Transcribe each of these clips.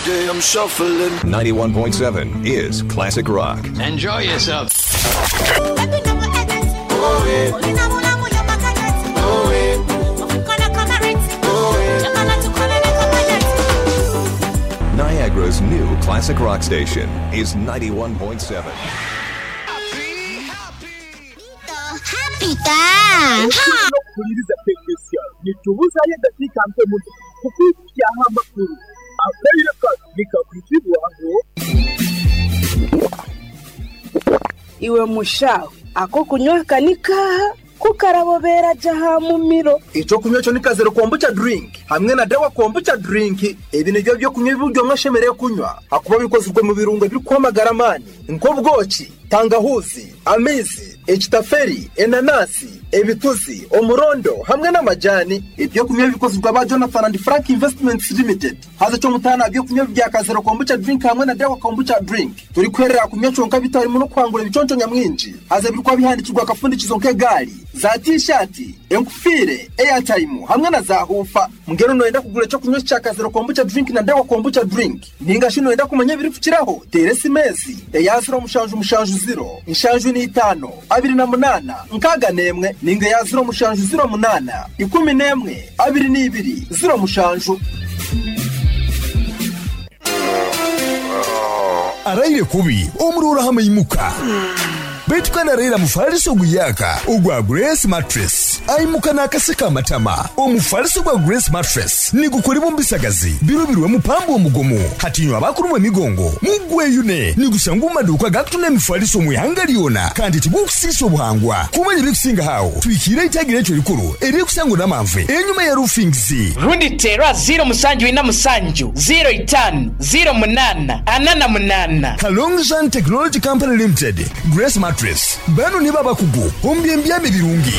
day I'm shuffling. 91.7 is Classic Rock. Enjoy yourself. Niagara's new classic rock station is 91.7. N'okuhuliriza Pekesia nitubuzayo edakiika nke muno kukwikyaho amakuru. Akaire kanu nikakwizibwaho. Iwe mushaho ak'okunywa aka ni kaaha ku karabobera gye aha mumiro? Eky'okunywa ekyo ni Kazero Kombucha Drink hamwe na Dawa Kombucha Drink. Ebi nibyo by'okunywa ebi buri omwe ashemereire kunywa ahakuba bikozirwe mu birungo ebirikuha amagara amaani nk'obwoki, tangahuzi, amaizi, ekitaferi, enanasi, ebituzi, omurondo hamwe n'amajani. Eby'okunywa ebi bikozirwe aba Jonathan and Frank Investments Limited. Haza eky'omutaano aha by'okunywa ebi bya Kazero Kombucha Drink hamwe na Dawa Kombucha Drink, torikuherera aha kunywa kyonka bitarimu n'okuhangura ebiconco nyamwingi. Haza ebirikuba bihandikirwe akafundikizo nk'egaari, za tiishaati, enkufiire, eyatayimu hamwe na zaahuufa. Mbwenu nooyenda kugura eky'okunywa eki kya Kazero Kombucha Drink na Dawa Kombucha Drink? Nainga shi nooyenda kumanya ebirikukiraho? Teera esimu ezi, eya ziro mushanju mushanju ziro, nshanju n'eitaano, abiri na munaana, nkaaga n'emwe, nainga eya ziro mushanju ziro munaana, ikumi n'emwe, abiri n'ibiri, ziro mushanju. Araire kubi omuroora hamaimuka. Beitu kandi araire mufaliso oguyaka ogwa Grace Mattress. Aimuka n'akaseka amatama. Omufaliso gwa Grace Mattress nigukolebwa omu bisagazi birobirwemu pamba omugumu. Hati inywe abakurumwa emigongo mugweyune. Nigushangwa omu maduuka agakutunda emifaliso omu ihanga lyona kandi tigukusiisa obuhangwa. Kumanya ebirikusingaho aho, twikiire eitagi ryaitu erikuru eririkusangwa Namanve enyuma ya Roofings. Rundi teera ziiro musanju ina musanju, ziiro itaanu, ziiro munaana, ana na munaana. Kalongzhan Technology Company Limited, Grace Mattress, banu nibo abakugu omu by'embyama ebirungi.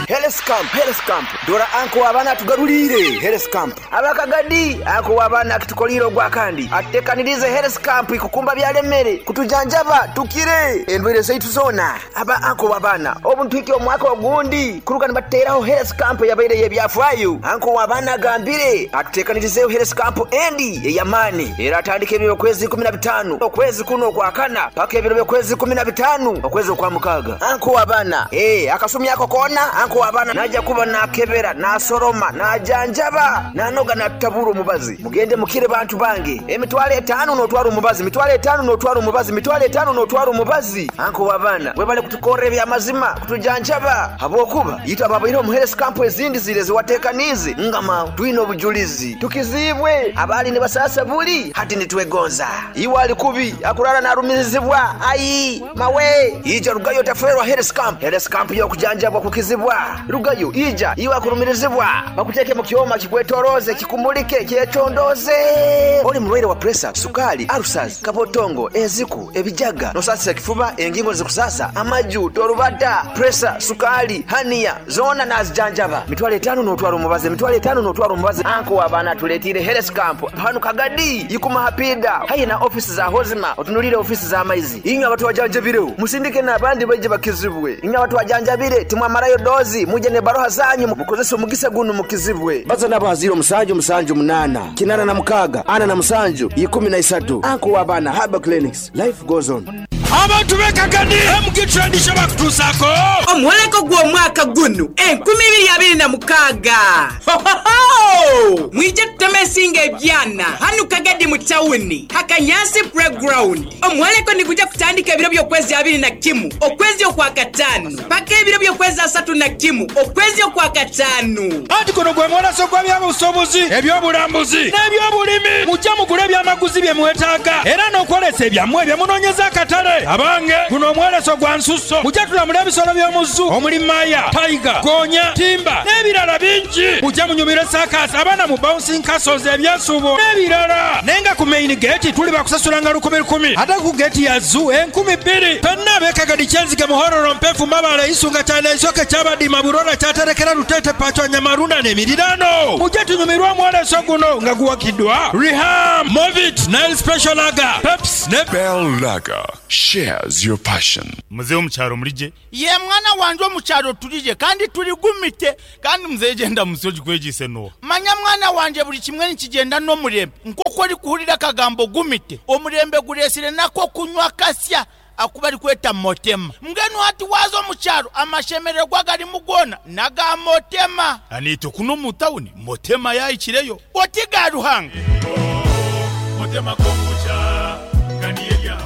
Health Camp, Health Camp, dora anko w'abaana atugaruliire Health Camp. Abakagadi, anko w'abaana akitukoliire ogwakandi, atutekaniriize Health Camp ikukumba byalemere, kutujanjaba tukire endwaire zaitu zoona. Aba anko w'abaana, obu nituhikya omwaka ogundi kuruga nibatuteraho Health Camp eyabaire ey'ebyafaayo. Anko w'abaana agambire atutekanirizeeho Health Camp endi ey'amaani eratandika ebiro by'okwezi 15 okwezi kunu okwakana paka ebiro by'okwezi 15 okwezi okwamukaaga. Anko w'abaana, ee, akasumi ako koona anko w'abaana naija kuba naakebera, naasoroma, naajanjaba, naanoga naatutabura omubazi. Mugende mukire bantu bange. Emitwaro etaano nootwara omubazi, mitwaro etaano nootwara omubazi, mitwaro etaano nootwara omubazi. Anko w'abaana, webale kutukorra eby'amazima, kutujanjaba habwokuba itwe ababaire omu health camp ezindi ziri eziwateekaniize ngama twine obujulizi. Tukiziibwe, abaali nibasaasa buli, hati nitwegonza. Iwe ali kubi, akurara naarumirizibwa, ai, mawe, ija rugayo otaferwa health camp. Health camp y'okujanjabwa kukizibwa. Rugayo, ija, iwe akurumirizibwa, bakuteeke mu kyoma kikwetoroze, kikumulike, kyecondoze. Oli mulwaire wa pressure, sukali, ulcers, kabotongo, enziku, ebijaga, nosasisa ekifuba, engingo zikusasa, amaju, torubata, pressure, sukali, hernia, zoona nazijanjaba. Mitwaro etaano n'otwara omubazi, emitwaro etaano n'otwara omubazi. Anko w'abaana atuleetiire health camp. Hanu Kagadi, Ikuma Hapida, haihi na ofisi za Hozima, otunulire ofisi z'amaizi. Inywe abatwajanjabireho, musindike n'abandi baije bakizibwe. Inywe abatwajanjabire, timwamarayo dozi, muje n'ebaroha zanyu, mukozese omugisa gunu mukizibwe. Baza nabo aha ziro musanju musanju munaana, kinaana na mukaaga, ana na musanju, ikumi na isatu. Anko w'abaana Herbal Clinics, life goes on. Abantu b'e Kagadi, MG Trade Show bakutuusaako omwoleko gw'omwaka gunu 2026. Hohoho! Mwije tuteme ensingo ebyana hanu Kagadi mu tawuni Hakanyansi Playground. Omwoleko niguja kutandika ebiro by'okwezi 21 okwezi okwakataano paka ebiro by'okwezi 31 okwezi okwakataano. Anti guno gwe mwoleso gw'ebyobusuubuzi, eby'obulambuzi n'eby'obulimi. Mujje mugule ebyamaguzi bye mwetaaga era n'okwolesa ebyammwe bye munoonyeza akatale. Abange, guno omwoleso gwa nsusso. Mujje tulamule ebisolo by'omu zoo omuli maya, tiger, goonya, timba n'ebirala bingi. Mujje munyumirwe saakaasi, abaana mu bouncing castles, ebyesuubo n'ebirala. Naye nga ku main gate tuli bakusasulanga lukumi lukumi, ate ku gate ya zoo 2000. Ffenna ab'e Kagadi, Kyenzige, Muhororo, Mpefu, Mabale, Isunga, Kyanda, Isoke, Kyabadima, Burora, Kyaterekera, Luteete, Pachwa, Nyamarunda n'emiriraano. Mujje tunyumirwe omwoleso guno nga guwagiddwa Riham, Movit, Nile Special Lager, Peps ne Bell Lager. Shares your passion. Muzei omu kyaro muri gye? Yee mwana wangye omu kyaro turi gye kandi turi gumite. Kandi muzei egyo endamutsyo ogikwegyeise n'oha? Manya mwana wangye buri kimwe nikigyenda n'omurembe. Nk'oku orikuhurira akagambo gumite, omurembe gureetsire n'ak'okunywa kasya aku barikweta Motema. Mbwenu hati waaza omu kyaro amashemererwa agarimu goona n'aga Motema. Naitwe kunu omu tawuni Motema yaahikireyo. Oti ga Ruhanga.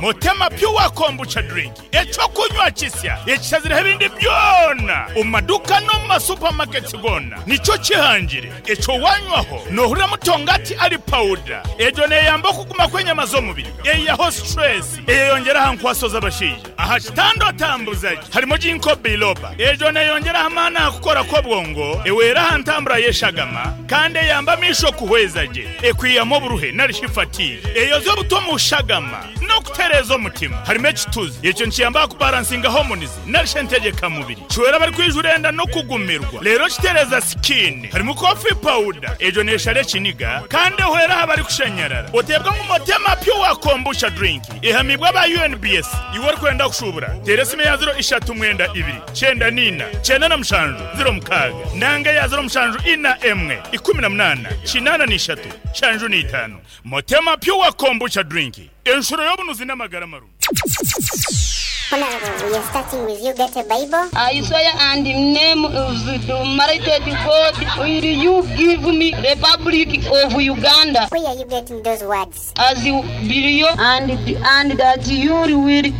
Motema Pure Kombucha Drink, eky'okunywa kisya ekishazireho ebindi byona omu maduuka n'omu ma supermarkets goona nikyo kihangire. Ekyo wanywaho nohurira mutongati ari pawuda. Egyo neyamba okuguma kw'enyama z'omubiri, eyihaho stress, eyeyongyera aha nkwaso z'abashaija. Aha kitanda otambuza gye harimu Ginkgo biloba. Egyo neyongyera aha maani aha kukora kw'obwongo, ehwera aha ntambura y'eshagama kandi eyamba amaisho kuhweza gye, ekwihamu oburuhe nari shi fatigue, eyozya obutwa omu shagama n'okutereeza omutima. Harimu ekituzi, ekyo nikiyamba aha kubaransinga hormones nari shi entegyeka mubiri. Kihwera abarikwijura enda n'okugumirwa reero kitereeza sikiini. Harimu coffee powder, egyo neeshara ekiniga kandi ehwera aha barikushanyarara. Oteebwa ngu Motema Pure Kombucha Drink ehamiibwe aba UNBS. Iwe orikwenda kushuubura, teera esimu eya ziro ishatu mwenda ibiri, kyenda na ina, kyenda na mushanju, ziro mukaaga nanga eya ziro mushanju ina emwe, ikumi na munaana, kinaana na ishatu, nshanju na itaano. Motema Pure Kombucha Drink, enshuro y'obunuzi n'amagara marungi. Honorable, we are starting with you. Get a Bible. I swear and in name of the Almighty God, will you give me Republic of Uganda? Where are you getting those words? As you believe and that you will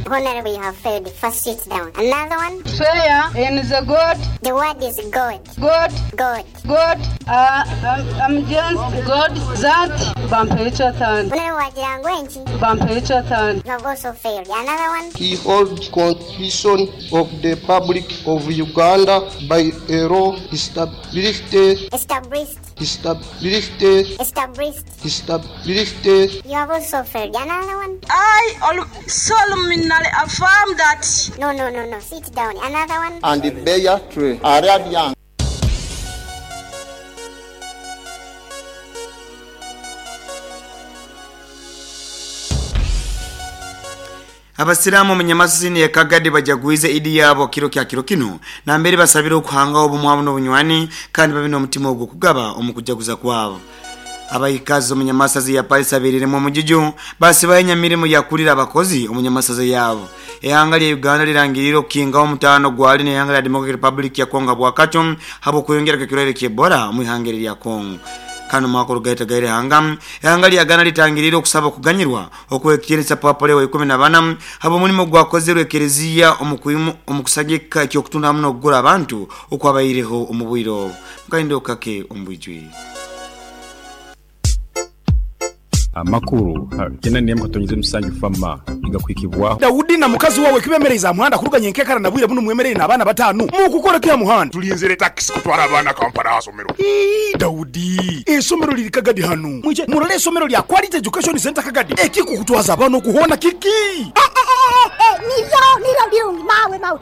Honorable, you have failed. First sit down. Another one? Swear in the God. The word is God. God. God. God. I'm just God that Bampecha Honorable, wagira ngu enki? Bampecha You have also failed. Another one? He holds Constitution of the Republic of Uganda by a law established Established. established Established. established You have also failed. Another one? I solemnly affirm that. No, no, no, no. Sit down. Another one? and bear tree Arabian. Abasiraamu omu Nyamasisi ya Kagadi bajagwize Idi yabo kiro kya kiro kino nambere basabire okuhangaho obumwe hamu n'obunywani kandi babe n'omutima ogw'okugaba omu kujaguza kwabo. Abaikazi omu Nyamasazi ya Palisa aberiremu omujuju basibayo enyamirimo yakurira abakozi omu Nyamasazi yabo. Ehanga lya Uganda lirangirire okukingaho omutaano gwali n'ehanga lya Democratic Republic ya Congo bwakaco habw'okweyongera kw'ekirwaire kya Ebola omu ihanga eri lya Congo. Kano mwaka orugaita gaire hanga ehanga lya Ghana litangirire okusaba okuganyirwa okw'ekitiinisa Papa Leo wa ikumi na bana habw'omurimo gwakozerwe ekereziya omu kusagika eky'okutunda hamu n'okugura abantu okwabaireho omu bwire obu. Mukaindo kake omu bwijwire. Amakuru kena katonyeze musanju fama igakwikibwaho Daudi na mukazi wawe kibemereza muhanda kuruganya enkekara na bwire buno mwemerere n'abaana batanu mukukora kya muhanda tulinzire takisi kutwara abaana Kampala hasomero. Ii, Daudi esomero liri Kagadi hanu mwije murole esomero lya Quality Education Center Kagadi ekikukutwaza abaana okuhona kiki. Nibyo nibyo birungi mawe mawe.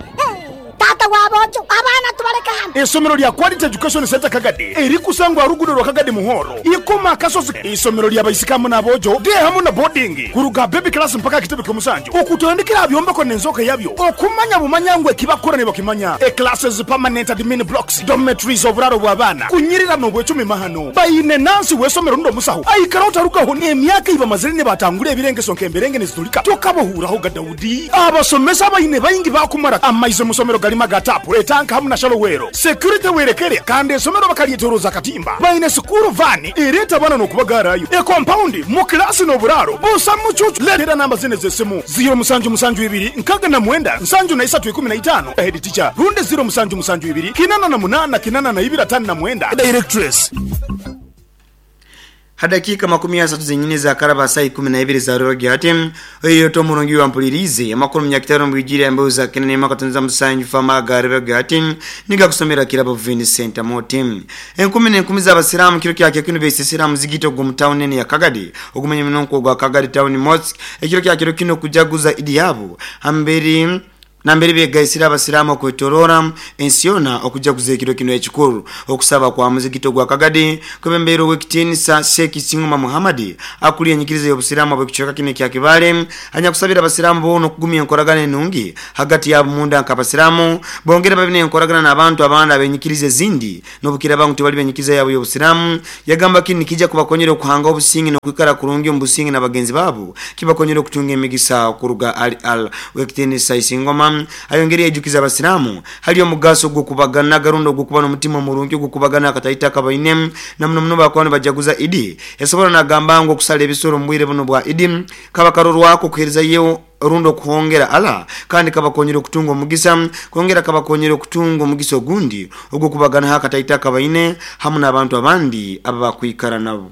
Tata wabojo abaana tubaleka hano. Esomero lya Quality Education Center Kagadi erikusangwa rugudo rwa Kagadi Muhoro ikoma akasozi. Isomero lya baisikamu n'abojo de hamu na boarding kuruga baby class mpaka kitebe ky'omusanju okutandikira byombeko n'enzoka yabyo okumanya bumanya ngwe kibakora ne bakimanya e classes, permanent admin blocks, dormitories, oburaro bw'abaana kunyirira n'obwecumi mahano bayine nansi w'esomero ndo musaho aikara otarugaho n'emyaka ibamazire ne batangura ebirengeso nk'emberenge nezitulika tokabohuraho ga Daudi. Abasomesa bayine bayingi bakumara amaize musomero galima gatapu etanka hamu na shalowero security werekere kandi esomero bakalyetoroza katimba bayine sukuru vani ereta bana n'okubagarayo e compound mu kilasi n'oburaro busa mucucu. Letera namba zine z'esimu 0 musanju musanju ibiri nkaga na mwenda nsanju na isatu ikumi na itaano head teacher runde 0 musanju musanju ibiri kinana na munana kinana na ibiri atano na mwenda directress. Hadakika 30 zenyine za karaba saa 12 za rogi hati oyo to murungi wa mpulirize amakuru myakitano mbwijire ambayo za kinene makatunza musanju fama garebe gati niga kusomera kirabo Vincent Motim. Enkumi n'enkumi z'abasiraamu kiro kyake kino besisira muzigito gwo town nene ya Kagadi ogumenya minonko gwa Kagadi Town Mosque ekiro kyake kino kujaguza Idi yabo hamberi. Nambere begaisire abasiramu okwetorora ensi yona okujaguza ekiro kino ekikuru. Okusaba kwa muzigiti ogwa Kagadi kwebembeire ow'ekitiinisa Sheikh Isingoma Muhammad akuliire enyikiriza y'obusiramu obw'ekicweka kino ekya Kibaale anyakusabire abasiramu boona okugumya enkoragana enungi hagati yabo munda nk'abasiramu bongere babe n'enkoragana n'abantu abandi ab'enyikiriza ezindi n'obukiraaba ngu tibali b'enyikiriza yabo y'obusiramu. Yagamba kinu nikija kubakonyera okuhanga obusinge n'okwikara kurungi omu businge na bagenzi baabo kibakonyera okutunga emigisa kuruga hali Allah. Ow'ekitiinisa Isingoma ayongere yaijukiza abasiramu hali omugaso gw'okubagana garundi ogw'okuba n'omutima omurungi ogw'okubagana akataito akabaine na muno muno bakuba nibajaguza Idi. Yasobora nagamba ngu okusala ebisoro omu bwire bunu bwa Idi kaba karorwako okuheerezayo rundi okuhongera Allah kandi kabakonyera okutunga omugisa kwongera kabakonyera okutunga omugisa ogundi ogw'okubaganaho akataito akabaine hamu n'abantu abandi ababakwikara nabo.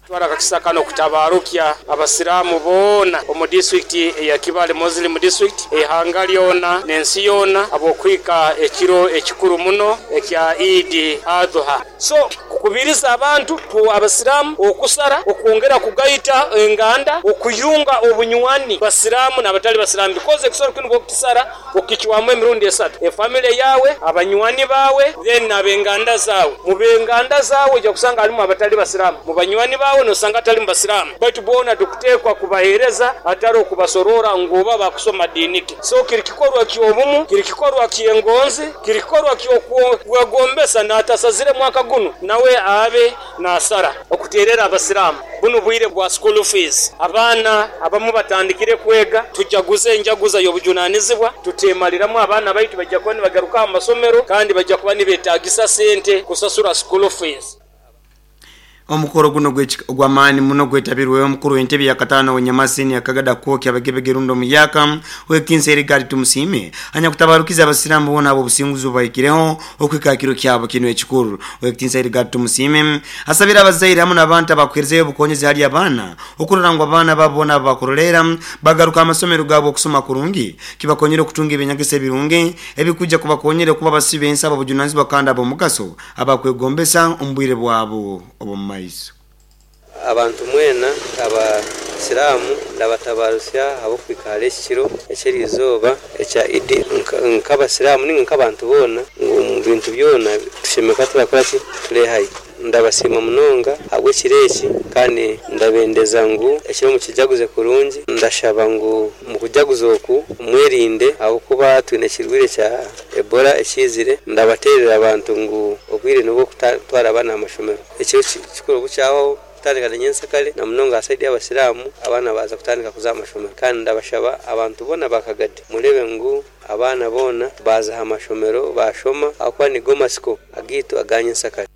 Twara akakisa kano okutabarukya abasiraamu boona omu disitulikiti eya Kibaale Muslim District, eihanga lyona n'ensi yoona habw'okuhika ekiro ekikuru muno ekya Eid Adhuha. So kukubiriza abantu abasiraamu okusara, okwongera kugaita enganda, okuyunga obunywani basiraamu n'abatali basiraamu because ekisoro kinu bwokukisara Okicwamu emirundi esatu, efamile yaawe, abanywani baawe, then n'abenganda zaawe. Mu benganda zaawe oija kusanga halimu abatali basiraamu, mu banywani baawe nosanga hatalimu basiraamu. Baitu boona tukuteekwa kubaheereza hatali okubasorora ngu oba bakusoma diini ki. So kiri kikorwa ky'obumu, kiri kikorwa ky'engonzi, kiri kikorwa ky'okwegombesa n'atasazire mwaka gunu nawe abe nasara. Okuteerera Abasiraamu, bunu bwire bwa school fees, abaana abamu batandikire kwega, tujaguze enjaguza y'obujunanizibwa, tuteemaliramu abaana baitu baija kuba nibagaruka aha masomero kandi baija kuba nibetagisa sente kusasura school fees. Omukoro guno ogw'amaani muno gwetabirweho omukuru w'entebe ya kataano ow'Nyamasi Senior Kagada Kwokya Abagebege rundi Omuyaka ow'ekitinisa Erigadi Tumusiime anyakutabarukize Abasiraamu boona ab'obusinguzi obubahikireho okuhika ha kiro kyabo kinu ekikuru. Ow'ekitinisa Irigadi Tumusiime asabire abazaire hamu n'abantu abakuheerezayo obukonyezi hali abaana okurora ngu abaana babo boona ababakuroleera bagaruka ha masomero gaabo okusoma kurungi kibakonyere okutunga eby'enyegesa ebirungi ebikwija kubakonyera okuba abasibi b'ensi ab'obujunanizibwa kandi ab'omugaso abakwegombesa omu bwire bwabo obw'omu maiso. Abantu mwena Abasiraamu ndabatabarutsya ahabw'okuhika ahari eki kiro eky'eriizooba ekya Idi. Nk'Abasiraamu nainga nk'abantu boona omu bintu byona tushemereire kuba turakora ki? Turehayo. Ndabasiima munonga ahabw'ekiro eki kandi ndabendeza ngu ekiro mukijaguze kurungi. Ndashaba ngu omu kujaguza oku mwerinde ahabw'okuba twine ekirwaire kya Ebola ekiizire. Ndabateerera abantu ngu obwire n'obw'okutwara abaana aha mashomero. Ekiro kikuru obu kyahwaho kutandika na nyensyakare na munonga aha sayidi y'abasiraamu abaana baaza kutandika kuza aha mashomero. Kandi ndabashaba abantu boona ba Kagadi mureebe ngu abaana boona baaza aha mashomero baashoma ahabw'okuba nigo matsiko agaitu aga nyensyakare.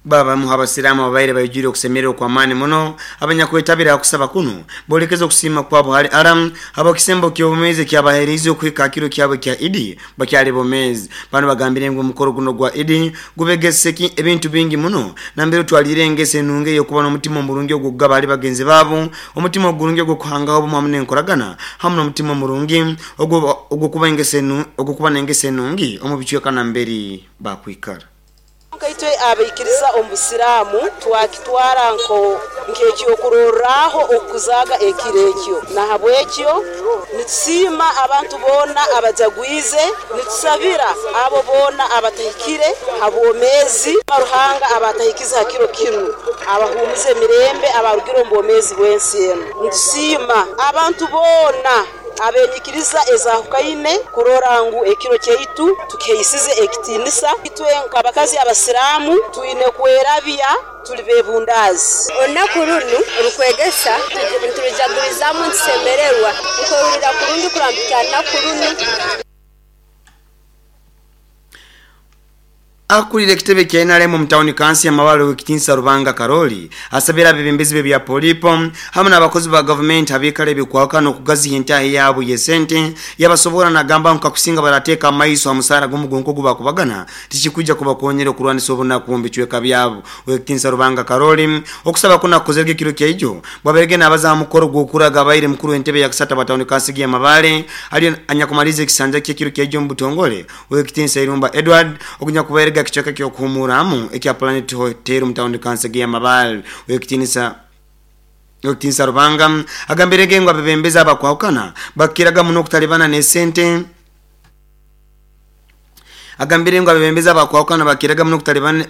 Babamu h'Abasiraamu ababaire baijwire okusemererwa okw'amaani muno abanyakwetabire ha kusaba kunu boolekeze okusiima kwabo hali Allah habw'ekisembo ky'obumeezi ekyabaheeriize okuhika ha kiro kyabo ekya Idi bakyali bomeezi. Banu bagambire ngu omukoro guno ogwa Idi gubegese ebintu bingi muno nambere otwaliire engeso enungi ey'okuba n'omutima omurungi ogw'okugaba hali bagenzi baabo, omutima ogurungi ogw'okuhangaho obumu hamu n'enkoragana hamu n'omutima omurungi ogw'okuba n'engeso enungi omu bicweka nambere bakwikara. Kwonka itwe abaikiriza omu Busiraamu twakitwara nk'ekyokurorraho okukuzaaga ekiro ekyo. Nahabwekyo nitusiima abantu boona abajagwize, nitusabira abo boona abatahikire ha bwomeezi, Ruhanga abaatahikize ha kiro kinu, abahuumuze emirembe abaarugire omu bwomeezi bw'ensi enu. Nitusiima abantu boona. Ab'enyikiriza ezahukaine kurora ngu ekiro kyaitu tukihaisize ekitiinisa. Itwe nk'abakazi Abasiraamu twine kwerabya tuli bebundaazi. Olunaku runu orukwegesa niturujagurizaamu nitusemererwa. Nkwehurira kurungi kurora mpikya ha lunaku runu. Akulira ekitebe kya nrm omu tawuni kanso ya Mabale Owekitinisa Rubanga Karoli asabire abebembezi b'ebya polipo hamu n'abakozi ba gavumenti abaikara ebikwahukana okugaziha entaahi yaabo y'esente yabasobora nagamba ngu kakusinga barateeka amaiso ha musaara gumu gwonka ogubakubagana tikikwija kubakonyera okurwanisa obunaku omu bicweka byabo. Owekitinisa Rubanga Karoli okusaba kunu akukozerege ekiro kyaijo bwabairege nabaza ha mukoro gw'okuraga abaire mukuru w'entebe ya kasatu aba tawuni kanso ya Mabale aliyo anyakumaliza ekisanja kye ekiro kyaijo omu butongole Ow'ekitiinisa Irumba Edward ogunyakubairege aha kicweka ky'okuhumuuramu ekya Planet Hotel omu tawuni Kansege ya Mabale. Ow'ekitiinisa. Okitinsa Rubanga agambirege ngo abebembeza abakwahukana bakiraga muno okutalibana n'esente. Agambire ngo abebembeza abakwahukana bakiraga muno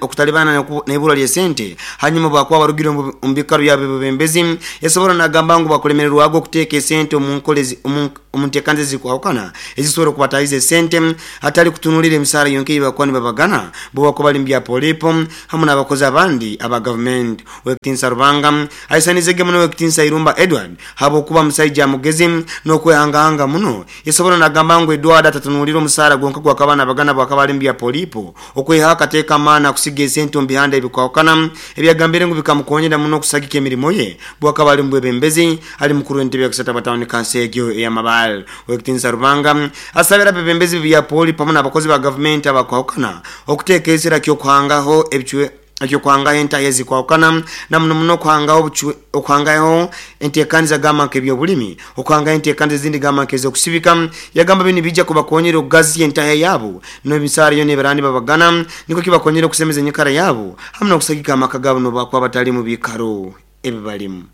okutalibana n'ibura ly'esente hanyuma bakwa barugire mu bikaro by'abebembezi. Yasobora nagamba ngo bakulemererwago okuteeka esente omu nkolezi omu nteekanze zikwahukana ezisobora okubatahiza esente hatali kutunulira emisaara yonka ei bakuba nibabagana bo bakuba bali mu bya polipo hamu n'abakozi abandi aba gavumenti. Owekitinsa Rubanga aisanizege muno Owekitinsa Irumba Edward habwokuba musaija mugezi n'okwehangahanga muno. Yasobora nagamba ngu Edward atatunulira omusaara gwonka gwakaba nabagana bwakaba ali mu bya polipo okwehaho akateeka amaani akusiga esente omu bihanda ebikwahukana ebyagambire ngu bikamukonyera muno okusagika emirimo ye bwakaba ali mu bwebembezi ali mukuru w'entebe ya kusatu abatawuni kanso egyo ey'amabaale. Owekitinsa Rubanga asabira abebembezi bya polipo hamu n'abakozi ba gavumenti abakwahukana okuteeka esira ky'okuhangaho ebicwe ekyokuhangaho entahi ezikwahukana na muno muno okuhangaho okuhangaho enteekaniza gamba nk'ebyobulimi, okuhangaho enteekaniza ezindi gamba nk'ez'okusibika. Yagamba binu bijja kubakonyera okugazya entahi yaabo n'emisaara yoona ebaraba nibabagana nikwo kibakonyera okusemeza enyikara yaabo hamu n'okusagika amaka gaabo n'obu bakuba batali mu biikaro ebi balimu.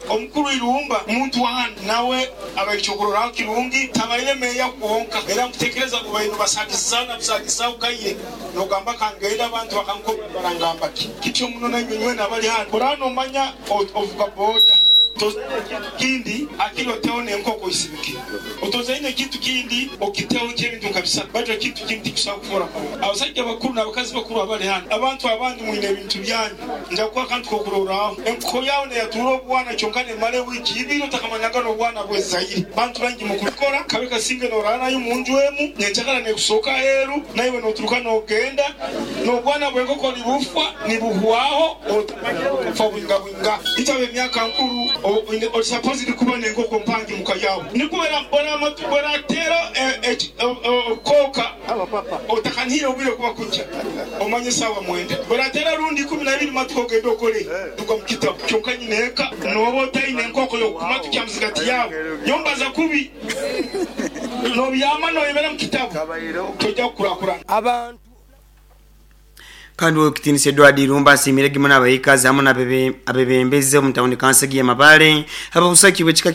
Omukuru Irumba muntu wa hanu nawe abaire kyokurorraho kirungi, tabaire meeya kwonka era nkutekereza ngu baine nibasagizana busagizaho kaye nogamba kangenda abantu bakankoba barangamba ki. Kityo muno nainywe nywena abali hanu oraba nomanya ovuga boda tozaine ekintu kindi akiri oteho n'enkoko oisibike, otozaine ekintu kindi okiteho nk'ebintu nka bisatu baitu ekintu kindi tikikusobora kufora kurungi. Abasaija bakuru n'abakazi bakuru abali hanu, abantu abandi mwine ebintu byanyu. Nja kukuha akantu k'okurorraho. Enkoko yaawe neyatura obwana kyonka nemara ewiiki ibiri otakamanyaga n'obwana bwezaire. Bantu baingi mukubikora, kabe kasinge noraara nayo munju emu, nyenkyakara nekusohoka aheeru, naiwe noturuka nogenda, n'obwana bw'enkoko nibufwa, nibuhwaho, otamanyire bukafa bwinga bwinga. Itwe ab'emyaka nkuru, oli supposed kuba n'enkoko mpangi muka yaawe. Nikwo bwerateera obukooka otakanihire obwire kuba kukya. Omanye esaawa mwenda bwerateera rundi 12 matuka ogende okole ruga mu kitabu. Kyonka nyina eka nooba otaine enkoko y'okukumatu kya muzigati yaawe. Nyowe mbaza kubi. Nobyama noyebera mu kitabu toija kukurakurana. Abantu. Kandi Owekitinisa Edward Irumba asiimire gimu n'abaikazi hamu n'abebembezi omu tawuni kanso egi y'Amabaale habw'obusaki bw'ekika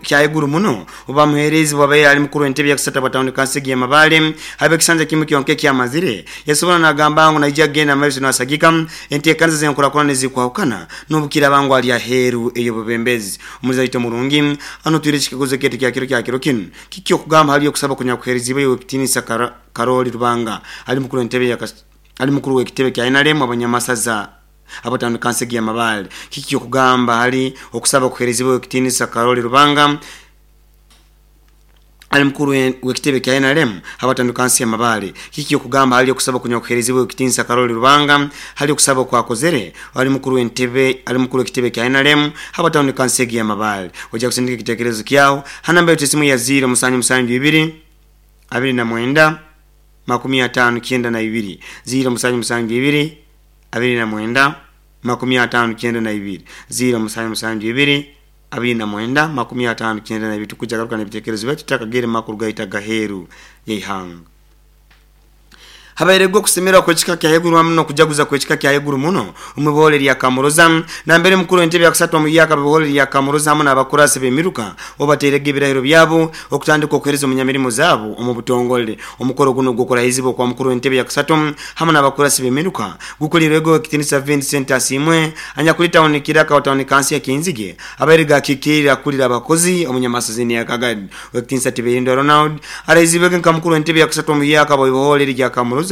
kya haiguru muno obubamuheereze bwabaire ali mukuru w'entebe ya kusatu abwa tawuni kanso egi y'Amabaale habw'ekisanja kimu kyonka ekyamazire. Yasobora n'agamba ngu naija kugenda mumaiso n'asagika enteekaniza z'enkurakurana ezikwahukana n'obukiraaba ngu ali aheeru ey'obwebembezi. Omulizi waitu omurungi anotwire ekikaguzo kyaitu kya kiro kya kiro kinu, Kiki okugamba hali okusaba okunyakuheeriziibwe Owekitinisa Karoli Rubanga ali mukuru w'entebe ya Ali mukuru w'ekitebe kya NRM abanyamasaza abatano Kansegi ya Mabaale. Kiki okugamba hali okusaba okuherezibwa ow'ekitinisa Karoli Rubanga ali mukuru w'ekitebe kya NRM abatano Kansi ya Mabaale. Kiki okugamba hali okusaba okunywa kuherezibwa ow'ekitinisa Karoli Rubanga hali okusaba okwakozere ali mukuru w'entebe ali mukuru w'ekitebe kya NRM abatano Kansegi ya Mabaale. Oja kusindika ekitekerezo kyaho ha namba yaitu esimu ya 0 7 7 2 29 59 0 7 7 2 29 59 0 7 7 2 29 59 tukuja garuka n'ebitekerezo byaitu tutakagere makuru gaitu agaheeru y'eihanga. Habairego okusemererwa kw'ekika kya haiguru hamu n'okujaguza kw'ekika kya haiguru muno omu iboholo erya Kamuroza nambere mukuru w'entebe ya kusatu omu yaka b'iboholo erya Kamuroza hamu n'abakurasi b'emiruka obu bateirege ebirahiro byabo okutandika okuhereza omunyamirimo zaabo omu butongole. Omukoro gunu ogw'okurahizibwa okwa mukuru w'entebe ya kusatu hamu n'abakurasi b'emiruka gukolirwege Owekitinisa Vincent Asiimwe anyakuli tawuni Kiraka wa tawuni kansi ya Kinzige abaire gakiikirire akulira abakozi omunyamasazini ya Kagadi. Owekitinisa Tiberindwa Ronald arahizibwege nka mukuru w'entebe ya kusatu omu yaka bw'iboholo erya Kamuroza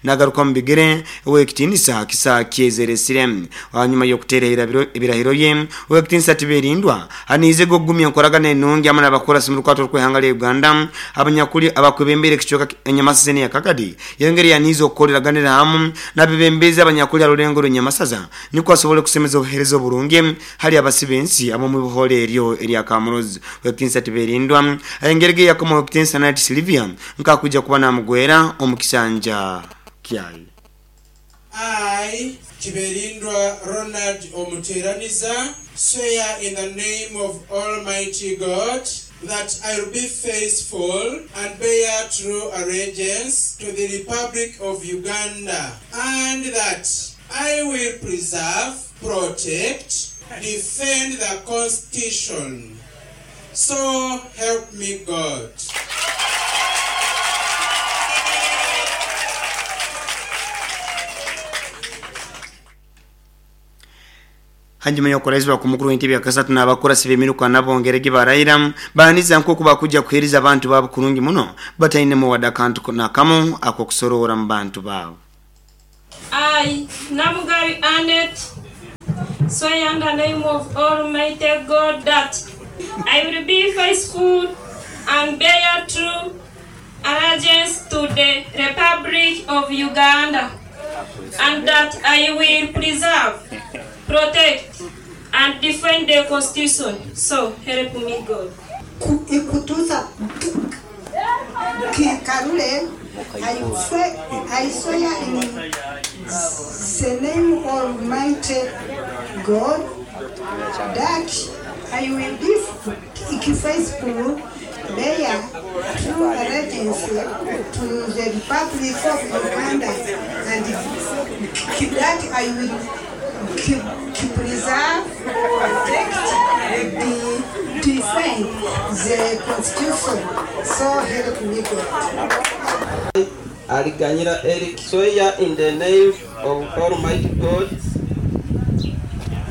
nagaruka omu bigere Owekitinisa Kisakye Zeresire. Hanyuma y'okuteera ebirahiro bye, Owekitinisa Tiberindwa aniizege okugumya enkoragana enungi hamu n'abakurasi mu rukwato rw'ihanga lya Uganda abanyakuli abakwebembera ekicweka Enyamasasa eya Kagadi. Yongera yaniize okukoreraganira hamu n'abebembezi abanyakuli ha rulengo rw'Enyamasaza nikwo asobole kusemeza obuheereza oburungi hali abasi b'ensi ab'omu iboholo eryo erya Kamurozi. Owekitinisa Tiberindwa ayengerege yakoma Owekitinisa Night Sylvia nk'akwija kuba namugwera omu kisanja kyaye. I, Tiberindwa Ronald Omuteraniza, swear in the name of Almighty God that I will be faithful and bear true allegiance to the Republic of Uganda, and that I will preserve, protect, defend the Constitution. So help me God. Hanyuma y'okurahizibwa ku mukuru w'entebe ya kasatu n'abakurasi b'emiruka nabongerege barayira baaniza nk'oku bakujja kuheereza abantu baabo kurungi muno batainemu wadde akantu nakamu ak'okusoroora mu bantu baabo. I, Namugari Annette, swear in the name of Almighty God that I will be faithful and bear true allegiance to the Republic of Uganda, and that I will preserve, protect, and defend the Constitution. So help me God. Ikutuza Kikarule, I swear in the name of Almighty God that I will be faithful, bear true allegiance to the Republic of Uganda, and that I will preserve, protect, and defend the Constitution. So help me God. Aliganyira Eric, swear in the name of Almighty God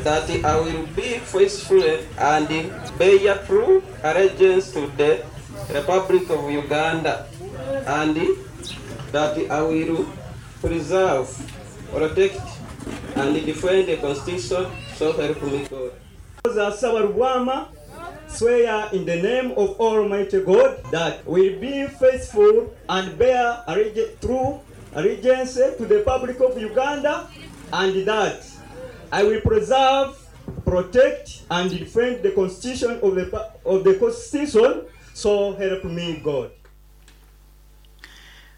that I will be faithful and bear true allegiance to the Republic of Uganda, and that I will preserve, protect, and defend the Constitution. So help me God. Sabarubwama, swear in the name of Almighty God that will be faithful and bear true allegiance to the Republic of Uganda, and that I will preserve, protect, and defend the Constitution of the Constitution. So help me God.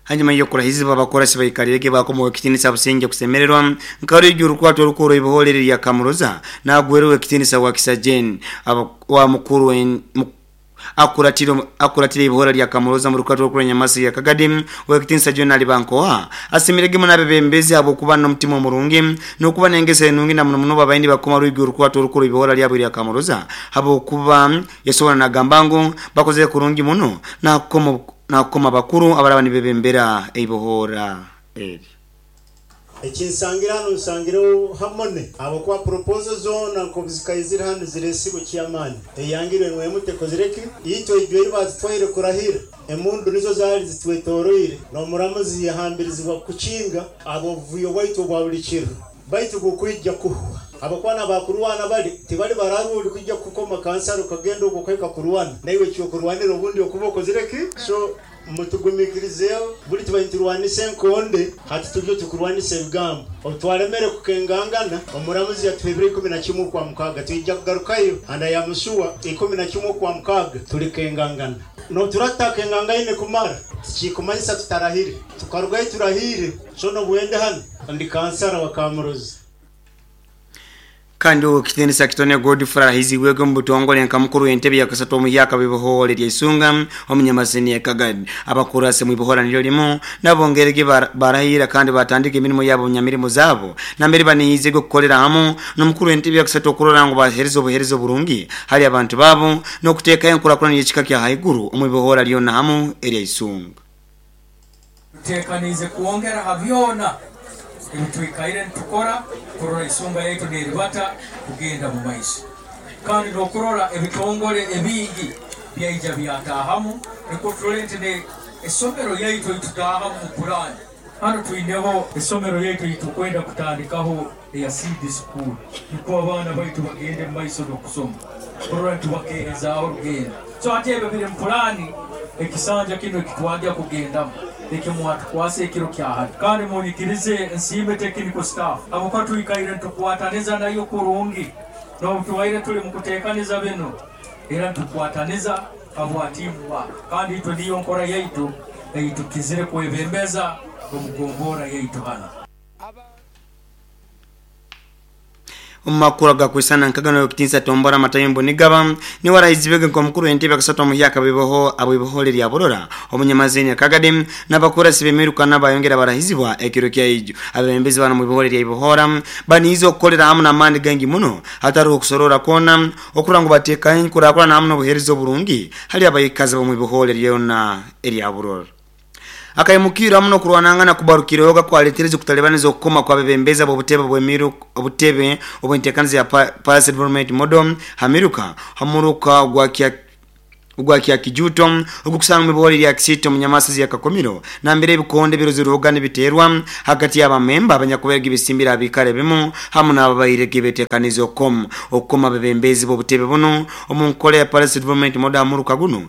Hanyuma y'okurahizibwa abakorasi baikalirege bakomowe ekitinisa businge kusemererwa nkarigi urukwato orukuru ibiholere lya Kamuroza nagwerewe ekitinisa wa Kisajen wa mukuru akuratira ibihora lya Kamuroza mu rukato rukuru Nyamasi ya Kagadi wekitinisa John Alibankoa asimirege munabe bembezi abo kuba n'omutima omurungi n'okuba nengese enungi na muno muno babaindi bakoma ruigi urukwato rukuru ibihora lya buli Kamuroza abo kuba yasobora nagamba ngu bakoze kurungi muno na koma bakuru abaraba nibebembera ibihora eri ekinsangira hano nsangireho hamone abakuba proposal zona nkobuzikayizira hano ziresibo kyamani eyangirwe mwemutekozireki itwe ijwe batutwaire kurahira emundu nizo zali zitwetoroire n'omuramuzi yahambirizibwa kukinga abovuyo bwaitu bwa buli kiro baitu kukwijja kuhwa abakwana bakurwana bali tibali bararuli kujja kukoma kansaro kagenda okukweka kurwana naiwe kyokurwanira obundi okuba okozireki so mutugumikirizeyo buli tubainturwanise enkonde hati tujye tukurwanisa ebigambo otwalemere kukengangana omuramuzi yatuhebire 11 kwa mukaga twijja kugarukayo anda ya musuwa 11 kwa mukaga tulikengangana no turatakengangane kumara tukikumanyisa tutarahire tukarugayo turahire so no bwende hano ndi kansara wa Kamurozi. Kandi ukitenisa kitone Godfrey hiziwego mbutongole nka mukuru entebe ya kasatu omuyaka bibohole lya Isunga omunyamasini ya Kagadi abakurase mu bibohora nilyo limu nabongerege barahira kandi batandika emirimo yabo nyamirimo zabo nambere banihizego kukolera hamu n'omukuru entebe ya kasatu okurora ngo bahereza obuherezo burungi hali abantu babo n'okuteeka enkurakurana y'ekika kya haiguru omu bibohora lyonna hamu erya Isunga. Tutekanize kuongera habyona ebitwikaire nitukora kurora Isunga yaitu neribata kugenda mu maiso kandi nokurora ebitongole ebingi byaija byatahamu nikwo turole nti ne esomero yaitu itutahamu mu Kurani hano twineho esomero yaitu itukwenda kutandikaho eya seed school nikwo abaana baitu bagende mu maiso n'okusoma kurora ntibakeezaaho rugenda so ate ebyo biri mu Kurani ekisanja kino ekitwajja kugendamu ekimwatukwasa ekiro kyahali kandi munyikirize nsiime technical staff abuka tuikaire ntukwataniza nayo kurungi n'obutuwaire tuli mu kuteekaniza bino era ntukwataniza abwatimu kandi itwe niyo nkora yaitu eitukizire kwebembeza omugombora yaitu hano. Omu makuru agakwisana nkagano yokitinsa tombora matayimbo nigaba niwe arahizibwege nk'omukuru w'entebe akasatu omuhyaka biboho abwibohole lya Burora omunyamazini akagade n'abakurasi b'emiruka n'abayongera barahizibwa ekiro kya ijo. Abebembezi bano mu bibohole lya Ibohora baniize okukolera hamu n'amaani gangi muno hatariho okusorora kwona okurora ngu bateekaho enkurakurana hamu n'obuheereza oburungi hali abaikazi b'omu ibohole lyona erya Burora. Akayimukira muno kurwanangana kubarukireho kwaletereza okutalibaniza okukoma kwabebembezi b'obutebe bw'emiru obutebe obwentekaniza ya Parish Development Model hamiruka hamuruka ogwa kya kijuto ogukusanga mibori lya Kisito munyamasizi ya Kakomiro nambere ebikonde biruziruga nibiterwa hagati y'abamemba abanyakuberega ibisimbira abikare bimu hamu n'ababairege betekaniza okukoma okukoma abebembezi b'obutebe buno omu nkola ya Parish Development Model hamuruka guno.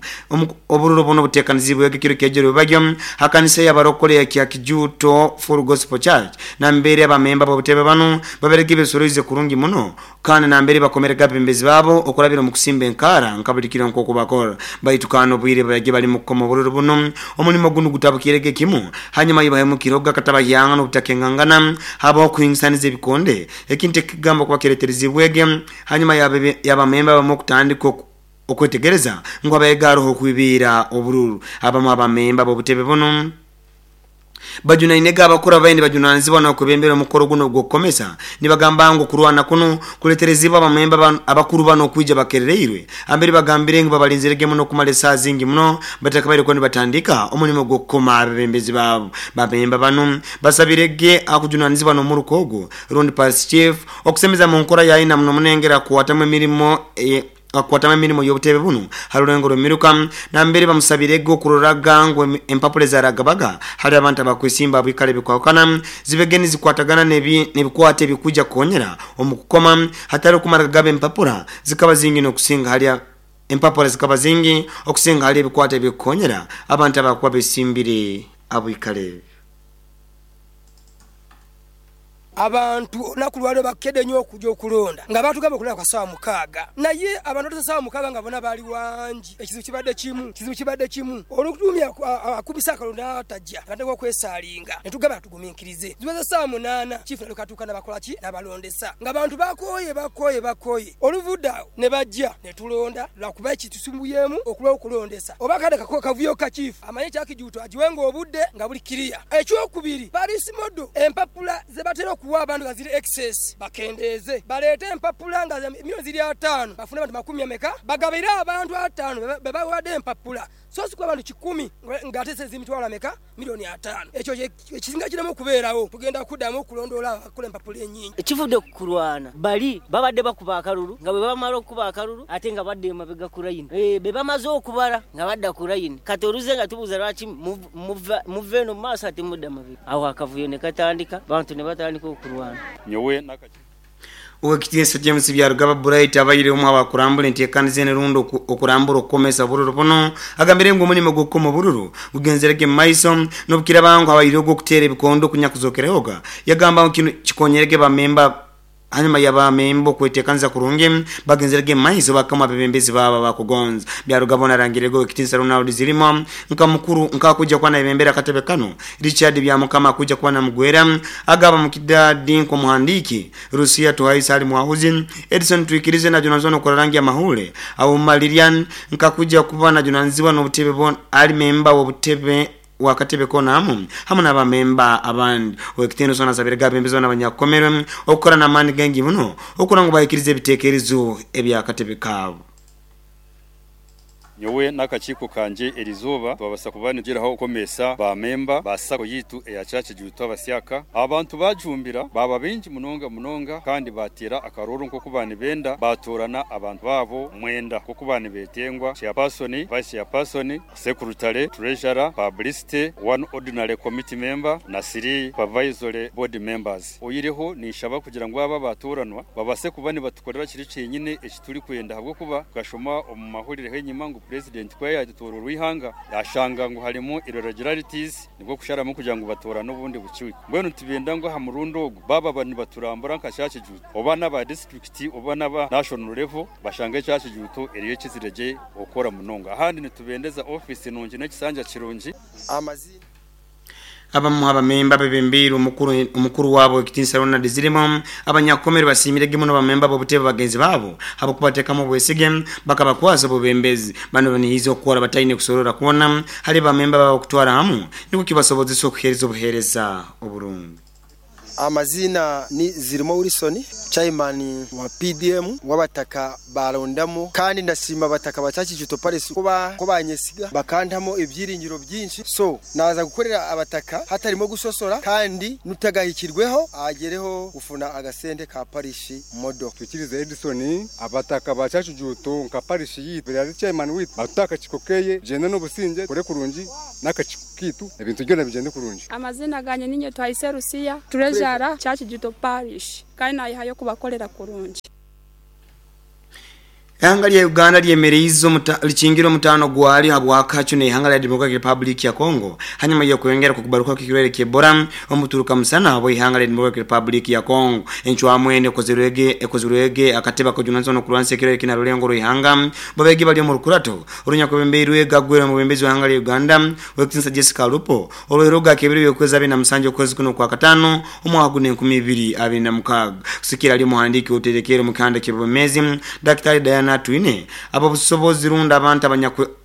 Obururo buno butekanizibwe ekiro kyejero bagyo hakanisa y'abarokole ya kya Kijuto Full Gospel Church nambere abamemba b'obutebe bano baberege ibisoroize kurungi muno kandi nambere bakomerega abebembezi babo okurabira omu kusimba enkara nka buli kiro nk'oku bakora. Baitu kandi obwire bage bali mu kukoma obururu buno omulimo guno gutabukirege kimu hanyuma yibahemukire gakatabahyanga n'obutakengangana habaho okuhingisaniza ebikonde ekintu ekigamba kuba kireterezibwege hanyuma y'abamemba bamu okutandika okwetegereza ngu abayega haroho okwibiira obururu. Abamu abamemba b'obutebe buno bajunainega abakuru abaindi bajunanizibwa n'okubembera omukoro guno ogw'okukomesa nibagamba ngu kurwana kuno kuleterezibwa abamemba abakuru bano okwija bakerereirwe ambere bagambire ngu babalinzirege muno okumara esaaha zingi muno batakabaire nibatandika omulimo gw'okukoma abebembezi baabo. Bamemba bano basabirege akujunanizibwa n'omuruka ogu rundi parish chief okusemeza mu nkora yaina muno munengera kukwatamu emirimo akwatama emirimo y'obutebe buno harulengo rw'emiruka nambere bamusabirege okuroraga ngu empapula ezaragabaga hari abantu abakwesimba abikale bikwakana zibege nizikwatagana n'ebikwate ebikuja kukonyera omu kukoma hatari okumara gaba empapula zikaba zingi n'okusinga hali empapula zikaba zingi okusinga hali ebikwate ebikukonyera abantu abakuba besimbire abikale. Abantu olunaku lwaleero bakedde inho okuja okulonda nga batugamba okulonda kwa saawa mukaaga naye abantu batuuse saawa mukaaga nga bona bali wangi. Ekizibu kibadde kimu, ekizibu kibadde kimu olutumye akubisa akalulu n'ataja batandika okwesaalinga ne tugamba tuguminkirize. Ziweze saawa munaana chiifu nalyoka atuuka nabakola ki? Nabalondesa nga abantu bakooye bakooye bakooye. Oluvudde agho ne baja ne tulonda lwakuba ekitusumbuyemu okulwawo okulondesa oba akade kavuyo ka chiifu amanye ekya Kijuuto agiwenga obudde nga buli kiriya. Ekyokubiri Parish Model empapula ze batera okuwa abantu nga ziri excess bakendeeze baleete empapula nga milioni ziri ataanu bafune abantu makumi ameka bagabire abantu ataanu be bawadde empapula so si kuwa bantu kikumi nga ate sente ziri mitwalo ameka milioni ataanu. Ekyo ekisinga kireme okubeerawo tugenda kudamu okulondoola abo abakola empapula enyingi. Ekivudde ku kulwana bali babadde bakuba akalulu nga bwe bamala okukuba akalulu ate nga badda emabega ku layini. Be bamaze okubala nga badda ku layini. Kati oluze nga tubuuza lwaki muva eno mu maaso ate mudda mabega. Awo akavuyo ne katandika, abantu ne batandika okulwana. Nyowe n'akakiiko. Owekitiinisa James Byarugaba Bright abaire omu abakurambura enteekaniza eno rundi okurambura okukomesa obururu buno agambire ngu omulimo gw'okukoma obururu gugenzerege mu maiso n'obukiraba ngu habaire ogw'okuteera ebikondo okunyakuzokerehoga. Yagamba ngu kinu kikonyerege bamemba hanyuma y'abamemba okweteekaniza kurungi bagenzerege mu maiso bakama abebembezi baabo abakugonza. Byarugaba ono arangirege owekitiinisa Ronald Zirimo nka mukuru nkakuja kuba nayebembera akatebe kano, Richard Byamukama akuja kuba namugwera agaba mukidadi nk'omuhandiiki, Rusia Tuhaisa ali mwahuzi, Edison Twikirize na Jonathan okora rangi ya mahule au Malirian nkakuja kuba najunanizibwa n'obutebe bon ali memba w'obutebe wakatebe konamu hamu n'abamemba abandi. Owekitiinisa ono asabire abembezi n'abanyakukomerwe okukora n'amaani gangi muno okura ngu bahikirize ebitekerezo ebyakatebe kaabo. Nyowe n'akakiiko kangye erizooba twabasa kuba nitugiraho okukomesa ba memba ba SACCO yitu eya Kyakijuuto abasyaka. Abantu bajumbira baaba baingi munonga munonga kandi bateera akarooro nk'oku baanibenda baatoorana abantu baabo mwenda nk'oku baanibetengwa, Chairperson, Vice Chairperson, Secretary, Treasurer, Publicity, one Ordinary Committee Member na three Supervisory Board Members. Oihireho ninshaba kugira ngu abo abaatooranwa babase kuba nibatukorera kiri kyenyine eki turikwenda ahabw'okuba tukashoma omu mahurireho enyima ngu Purezidenti ku yaayetooroorwa eihanga yaashanga ngu harimu irregularities nibwo kusharamu kugira ngu batoorane obundi bukiiko. Mbwenu nitubenda ngu aha murundi ogu baaba nibaturambura nka Kyakijuuto oba n'aba disiturikiti oba n'aba national level bashange Kyakijuuto eriyo ekizire gye okukora munonga. Ahandi nitubendeza ofiisi nungi n'ekisanja kirungi. Amazina. Abamu abamemba bebembeire omukuru wabo ekitinisa Ronald Zirimo abanyakomero basimirege muno bamemba b'obutebe bagenzi babo abakubateekamu obwesige bakabakwasa obubembezi. Bano banihiza okukora bataine kusorora kwona hali bamemba babo kutwara hamu nikwo kibasobozesa okuheereza obuheereza oburungi. Amazina ni Zirimo Wilson, chairman wa PDM w'abataka barondamu, kandi ndasiima abataka ba Kyakijuto Parish kuba banyesiga bakantamu ebyiringiro byingi. So naza kukorera abataka hatarimo gusosora, kandi nutagahikirweho agereho kufuna agasente ka parish modo. Twikirize Edison, abataka ba Kyakijuto nka parish yitu yari chairman witu bataka kikokeye jenda n'obusinge kore kurungi n'akakiko kitu ebintu byona bigende kurungi. Amazina ganye ninye Twahise Rusiya, Treasurer Kyakijuto Parish, kandi nayihayo kubakorera kurungi. Ihanga lya Uganda lyemereize likingira omutano gwali habwakacu n'ihanga lya Democratic Republic ya Congo hanyuma y'okwongera kukubaruka kw'ekirwaire ky'Ebola omuturuka musana abo ihanga lya Democratic Republic ya Congo. Encwamu eno ekozirwege akatebe ak'obujunanizibwa n'okurwanisa ekirwaire kina rulengo rw'ihanga babegi bali omu rukurato orunyakubembeirwe gagwera omubembezi w'ihanga lya Uganda Owekitinisa Jessica Alupo olw'eroga kebiro by'okwezi 27 okwezi kuno kwa katano omwaka guno 2026. Kusikira ali omuhandiiki oterekere omu kihanda ky'obwemezi Daktari Diana Atwine abo busobozi runda abantu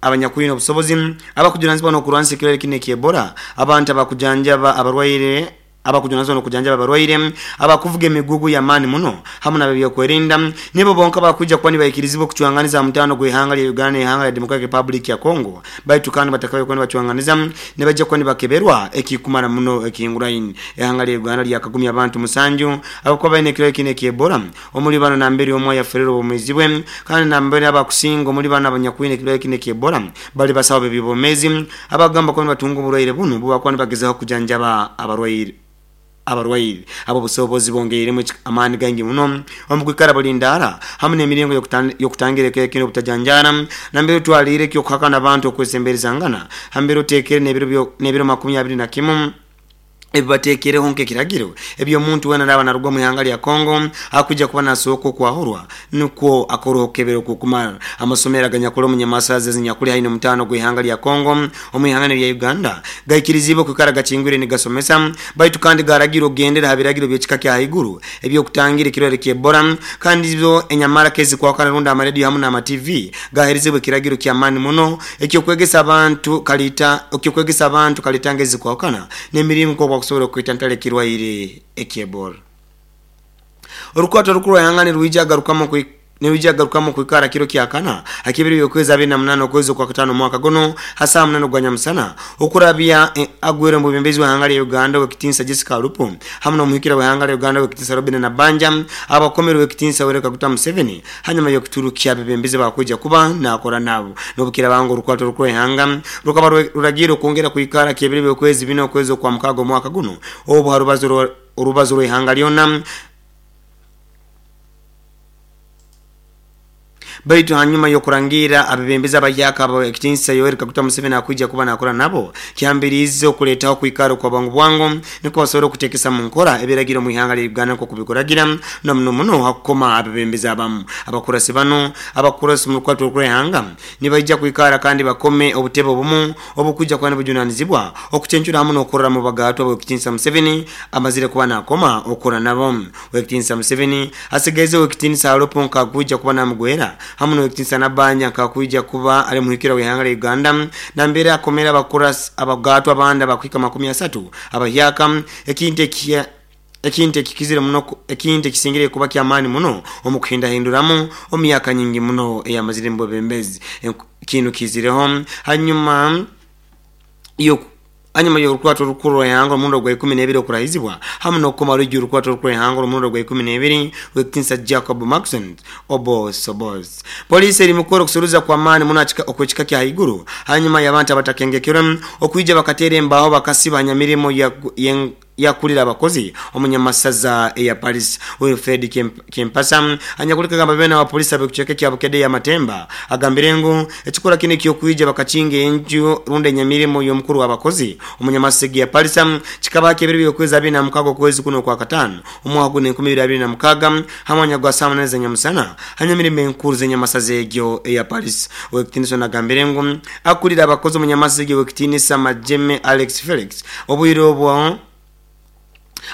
abanyakwine obusobozi abakujunaanizibwa n'okurwanisa ekirwaire kino eky'Ebola, abantu abakujanjaba abarwaire abakujunaanizibwa n'okujanjaba abarwaire, abakuvuga emigugu y'amaani muno hamu n'ab'ebyokwerinda nibo bonka bakwija kuba nibaikirizibwa okucwanganiza aha mutaano gw'ihanga lya Uganda n'ihanga lya Democratic Republic ya Congo. Baitu kandi batakabaire kuba nibacwanganiza nibaija kuba nibakeberwa ekikumara muno ekihinguraine. Ihanga lya Uganda lyakagumya abantu 7 abakuba baine ekirwaire kino eky'Ebola. Omuli bano nambere omwe ayaferire obwomeezi bwe, kandi nambere abakusinga omuli bano abanyakwine ekirwaire kino eky'Ebola bali basawo b'ebyobwomeezi abagamba kuba nibatunga oburwaire bunu obu bakuba nibagezaho kujanjaba abarwaire. Abo obusobozi bongeiremu amaani gaingi muno omu kwikara bulindaara hamu n'emiringo y'okutangira ekirwaire kino obutajanjaara, nambere otwaliire eky'okuhakana abantu okwesemberezangana, hambere oteekere n'ebiro 21 ebibateekereho nk'ekiragiro eby'omuntu weena araaba naruga omu ihanga lya Congo akwija kuba nasooka okwahurwa nukwo akoroho okukebera okukumara. Amasomero aganyakuli omu nyamasaza ezinyakuli haihi n'omutaano gw'ihanga lya Congo omu ihanga lya Uganda gaikirizibwe okwikara gakingwire nigasomesa, baitu kandi garagirwe okugendera ha biragiro by'ekika kya haiguru eby'okutangira ekirwaire ky'Ebola. Kandi zo enyamara kezikwakana rundi amarediyo hamu n'ama TV gaheerezebwa ekiragiro ky'amaani muno ekyokwegesa abantu kalita ekyokwegesa abantu kalitanga ezikwahukana n'emiringo nk'oku bakusobora okwetantara ekirwaire eky'Ebola. Orukwato orukuru rwa ihanga nirwija agarukamu kwikara kiro kya kana akibiri by'okwezi 28 okwezi okwa katano omwaka guno ha saa 8 gwa nyamusana okurabya agwere mu bubembezi bw'ihanga lya Uganda Owekitinisa Jessica Alupo hamu n'omuhikira w'ihanga lya Uganda Owekitinisa Robinah Nabbanja abakomere Owekitinisa Yoweri Kaguta Museveni hanyuma y'okuturukya abebembezi bakwija kuba nakora nabo. N'obukirabanga orukwato orukuru rwa ihanga rukaba ruragiire okwongera kwikara kyebiro by'okwezi 4 okwezi okwa mukaaga omwaka guno obu ha orubazo rw'ihanga lyona. Baitu hanyuma y'okurangira abebembezi abahyaka abo ekitinisa Yoweri Kaguta Museveni akwija kuba nakora nabo kyambiriize okuleetaho kwikara okwa bwangu bwangu nukwo basobole okuteekesa mu nkora ebiragiro mu ihanga lya Uganda nk'oku bikuragira na muno muno hakukoma abebembezi abamu. Abakurasi bano abakurasi mu rukwato rukuru rw'ihanga nibaija kwikara kandi bakome obutebe obumu obukwija kuba nibujunanizibwa okucencura hamu n'okurora mu bagatwa Owekitinisa Museveni amazire kuba nakoma okukora nabo. Owekitinisa Museveni asigaize Owekitinisa Alupo nkakwija kuba namugwera hamu n'Owekitinisa Nabbanja nkakwija kuba ali muhikira w'ihanga lya Uganda nambere akomera abakurasi abagatwa abandi abakuhika 30 abahyaka, ekintu ekintu ekikizire muno ekintu ekisingire kuba kyamaani muno omu kuhindahinduramu omu myaka nyingi muno eyamazire mu bwebembezi. Kinu kizireho hanyuma y'orukwato orukuru rwa ihanga omurundi ogwa 12 okurahizibwa hamu n'okukoma rwigi orukwato orukuru rwa ihanga omurundi ogwa 12 Owekitinisa Jacob Maxon Oboth. Poliisi eri mukora okusuruza kw'amaani muno okw'ekika kya haiguru hanyuma y'abantu abatakengekerwe okwija bakateera embaho bakasiba hanyamirimo Yakulira abakozi omunyamasaza eya Paris Wilfred Kempasa anyakulika gamba bena wa polisi abekucheke kya Bukedde ya Matemba agambire ngu ekikola kino ekyokuija bakakinga enju runda enyamirimo y'omukuru w'abakozi omunyamasigi ya Paris kikaba kebiri byokwezi 26 kwezi kuno kwa katano omwaka guno 2026 hamwanya gwa saa 8 zenyamusana hanyamirimo enkuru zenyamasaza egyo eya Paris. Wekitinisa nagambire ngu akulira abakozi omunyamasigi wekitinisa Majeme Alex Felix obwire obwo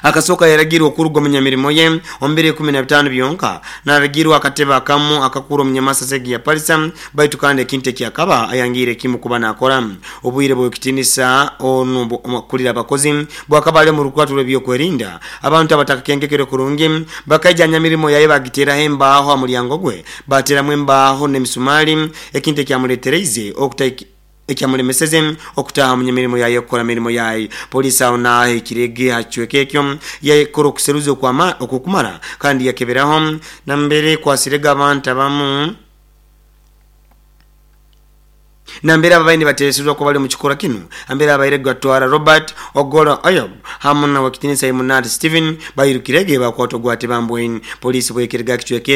akasoka yaragirwa okuruga omunyamirimo ye ombere 15 byonka naragirwa akateba akamu akakuru omunyamasasegi ya Palisa baitu kandi ekintu ekyakaba ayangire kimu kuba nakora obwire bwekitinisa onu kulira abakozi bwakaba ali mu rukwatu lw'ebyokwerinda abantu abatakakengekere kurungi bakaija nyamirimo yaye bagiteraho embaaho amulyango gwe bateramu embaaho n'emisumali ekintu ekyamuletereize okutaiki ekyamulemeseze okutaha munyamirimo yaye okukora mirimo yaye. Polisi aho naho ekirege hachweke ekyo yakora okuseruza okukumara kandi yakeberaho nambere kwasirega abantu abamu nambere ababaini bateresezwa ko bali mu kikora kino ambere abaire gatwara Robert Ogola Ayob hamwe na wakitinisa Imunati Steven bayirukirege bakwatwa gwate bambweni. Polisi bwekerega kichweke.